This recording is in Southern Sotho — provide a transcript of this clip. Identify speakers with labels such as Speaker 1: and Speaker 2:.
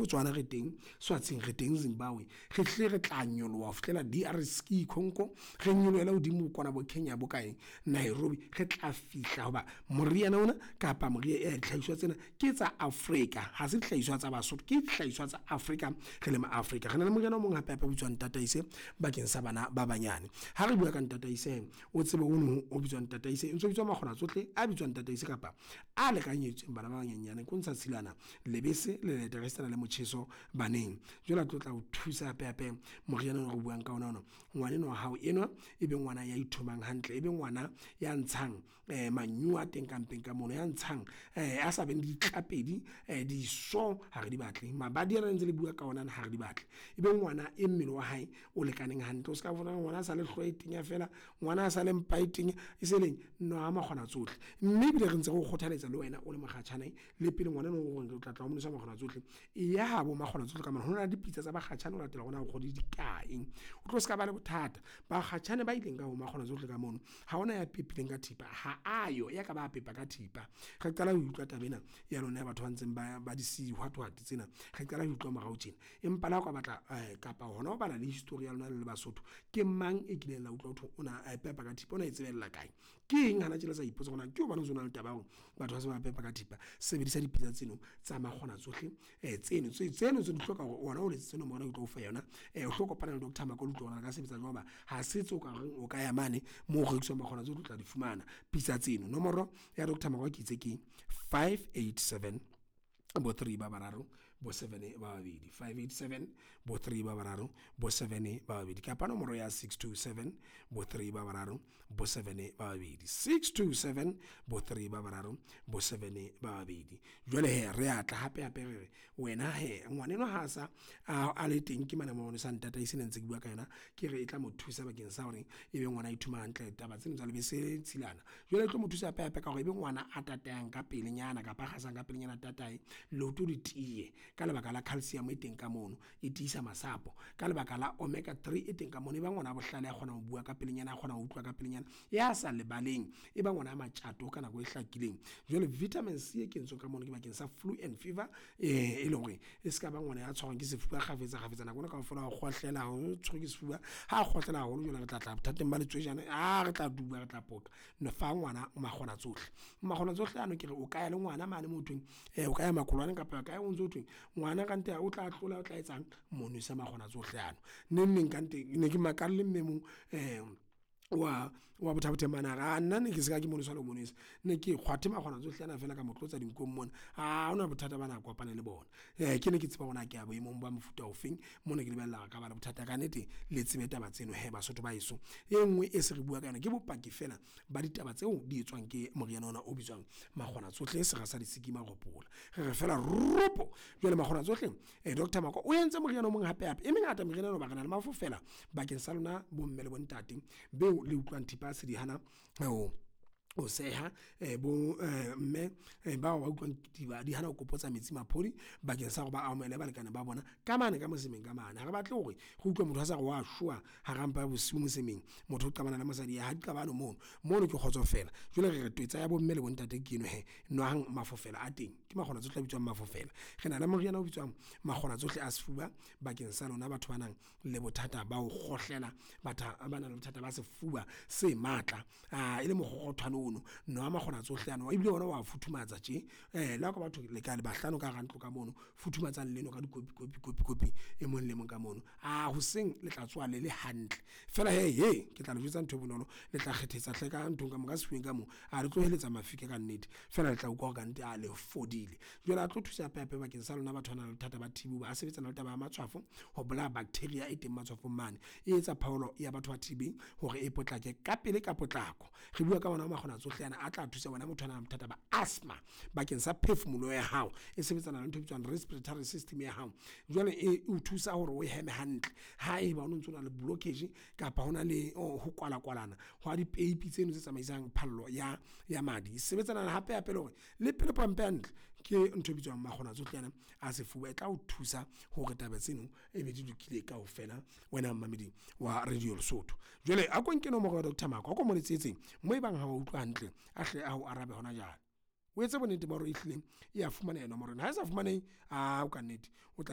Speaker 1: Botswana re teng, Swatsing re teng, Zimbabwe. Re hlile re tla nyoloha ho fihlela DRC Congo, re nyolohele hodimo kwana bo Kenya bo kae, Nairobi. Re tla fihla hoba moriana ona kapa dihlahiswa tsena ke tsa Afrika. Ha se dihlahiswa tsa Basotho, ke dihlahiswa tsa Afrika re le Maafrika. Re na le moriana o mong hape-hape o bitswang Tataise bakeng sa bana ba banyane. Ha re bua ka Ntataise o tsebe ono o bitswang Tataise, o ntso bitswa Makgonatsohle a bitswang Tataise kapa a lekanyeditsweng bana ba banyenyane. Ke ho ntsha tshilwana, lebese, lelete ekasitana le motjheso baneng. Jwale a tlotla ho thusa hape-hape moriana ona o re buang ka ona ona. Ngwana enwa wa hao enwa e be ngwana ya ithomang hantle, e be ngwana ya ntshang manyuwa a teng ka mpeng ka mono. Ya ntshang a sa beng le ditlapedi, diso ha re di batle. Mabadi ana le ntse le bua ka ona ana ha re di batle. E be ngwana e mmele wa hae o lekaneng hantle. O ska bona ngwana a sa le hlooho e tenya feela, ngwana a sa le mpa e tenya, e se leng. Nwa makgona tsohle. Mme ebile re ntse re o kgothaletsa le wena o le mokgatjhane le pele ngwana enwa o re o tlatla o mo nwesa makgona tsohle. E ya habo makgona tsohle ka mona, ho na le dipitsa tsa bakgatjhane ho latela hore na o kgwedi di kae. O tlo ska ba le bothata. Bakgatjhane ba ileng ka ho makgona tsohle ka mono, ha hona ya pepileng ka thipa, ha a yo ya ka ba pepa ka thipa. Re qala ho utlwa taba ena ya lona ya batho ba ntseng ba di tsena, re qala ho utlwa morao tjena. Empa le ha o ka batla kapa hona ho bala le history ya lona le le Basotho. Ke mang e kileng la utlwa ho thwe o na a pepa ka thipa, ona e tsebella kae? Ke eng hana tjena le sa ipotsa hore na ke hobaneng ho so na le taba ya hore batho ba se ba pepa ka thipa. Sebedisa dipitsa tseno tsa makgona tsohle tseno tseno tse di hloka hore ona o letsetse nomoro ena ke tlo o fa yona. O hlo kopana le Doctor Mako le utlwe hore na le ka sebetsa jwang hoba ha se tseo ka reng o ka ya mane moo ho rekiswang makgona tsohle o tla di fumana pitsa tseno. Nomoro ya Doctor Mako ke itse ke 587 bo three ba bararo, bo seven ba babedi. 587 bo three ba bararo, bo seven ba babedi. Kapa nomoro ya 627 bo three ba bararo, bo seven ba babedi. 627 bo three ba bararo, bo seven ba babedi. Jwale he, re atla hape-hape re re wena he ngwanenwa ha sa a le teng ke mane mo sa Ntataise ne ntse ke bua ka yona. Ke re e tla mo thusa bakeng sa hore e be ngwana a ithoma hantle, taba tseno tsa lebese le tshilana. Jwale e tlo mo thusa hape-hape ka hore ebe ngwana a tatayang ka pelenyana kapa a kgasang ka pelenyana, a tataye leoto le tiye ka lebaka la calcium e teng ka mono, e tiisa masapo. Ka lebaka la omega 3 e teng ka mono, e ba ngwana a bohlale, a kgona ho bua ka pelenyana, a kgona ho utlwa ka pelenyana, ya sa lebaleng. E ba ngwana a matjato ka nako e hlakileng. Jwale vitamin C e kentsweng ka mono ke bakeng sa flu and fever, e leng hore e ska ba ngwana ya tshwarwang ke sefuba kgafetsa-kgafetsa nako ena kaofela wa kgohlela, o tshwerwe ke sefuba. Ha kgohlela haholo jwale re tla tla bothateng ba letswejana, re tla duba, re tla poqa. Fa ngwana makgona tsohle. Makgona tsohle ano ke re o ka ya le ngwana mane moo hothweng o ka ya makolwane kapa kae o ntso thweng ngwana kannete o tla tlola, o tla etsang, mo nwese makgona tsohle ano. Neng neng kannete ne ke makalle mme e mong wa Botha-Bothe mane a re nna ne ke se ka ke mo nwesa le ho mo nwesa. Ne ke kgwathe makgona tsohle ana feela ka mo tlotsa dinkong mona, ha hona bothata bana kopane le bona. Ke ne ke tseba hore na ke ya boemong ba mofuta ofeng mona ke lebella hore ka ba le bothata kannete le tsebe taba tseno hee Basotho ba heso. E nngwe e se re bua ka yona ke bopaki feela ba ditaba tseo di etswang ke moriana ona o bitswang makgona tsohle, sera sa disiki maropola. Re re feela ropo! Jwale makgona tsohle Doctor Mako o entse moriana o mong hape-hape. E mengata meriana ena hoba re na le mafofela bakeng sa lona bo mme le bo ntate beo le utlwang thipa se di hana ho seha bo mme bao ba utlwang di hana ho kopotsa metsi maphodi bakeng sa hore ba amohele balekane ba bona ka mane ka mosemeng ka mane. Ha re batle hore re utlwe motho a sa re wa shwa hara mpa ya bosiu mosemeng, motho o qabana le mosadi ha di qabane mono. Mono ke kgotso feela. Jwale re re twetsa ya bo mme le bo ntate ke eno hee, nwang mafofela a teng. Ke makgona tsohle a bitswang mafofela. Re na le moriana o bitswang makgona tsohle a sefuba bakeng sa lona batho ba nang le bothata ba ho kgohlela, batho ba nang le bothata ba sefuba se matla e le mokgokgothwane ono. Nwa makgona tsohle ano ebile ona wa futhumatsa tje. Le ha ho ka batho le ka le bahlano ka hara ntlo ka mono, futhumatsang leno ka dikopi, kopi, kopi, kopi e mong le mong ka mono. Hoseng le tla tsoha le le hantle feela hee ke tla le jwetsa ntho e bonolo, le tla kgethetsa hle ka nthong ka mo, ka sefubeng ka mo. Le tlo heletsa mafika kannete, feela le tla utlwa hore kannete le fodile. Jwale a tlo thusa hape-hape bakeng sa lona batho ba nang le bothata ba TB hoba a sebetsana le taba ya matshwafo ho bolaya bacteria e teng matshwafong mane. E etsa phaolo ya batho ba TB hore e potlake ka pele ka potlako. Re bua ka ona makgona tsohle ana a tla thusa wena motho a nang le bothata ba asthma bakeng sa phefumoloho ya hao. E sebetsana le ntho e bitswang respiratory system ya hao. Jwale e o thusa hore o heme hantle ha eba o no ntso na le blockage kapa hona le ho kwala-kwalana hwa dipeipi tseno tse tsamaisang phallo ya madi. E sebetsana hape-hape le hore le pelo pompe hantle, ke ntho e bitswang makgona tsohle ana a sefuba. E tla o thusa hore taba tseno e be di lokile kaofela wena momamedi wa Radio Lesotho. Jwale a ko nke nomoro ya Doctor Mako, a ko mo letsetse moo ebang ha wa utlwa hantle, a hle a o arabe hona jwale. O etse bonnete ba hore ehlile e ya fumaneha nomoro ena. Ha e sa fumanehe, ao kannete o tla.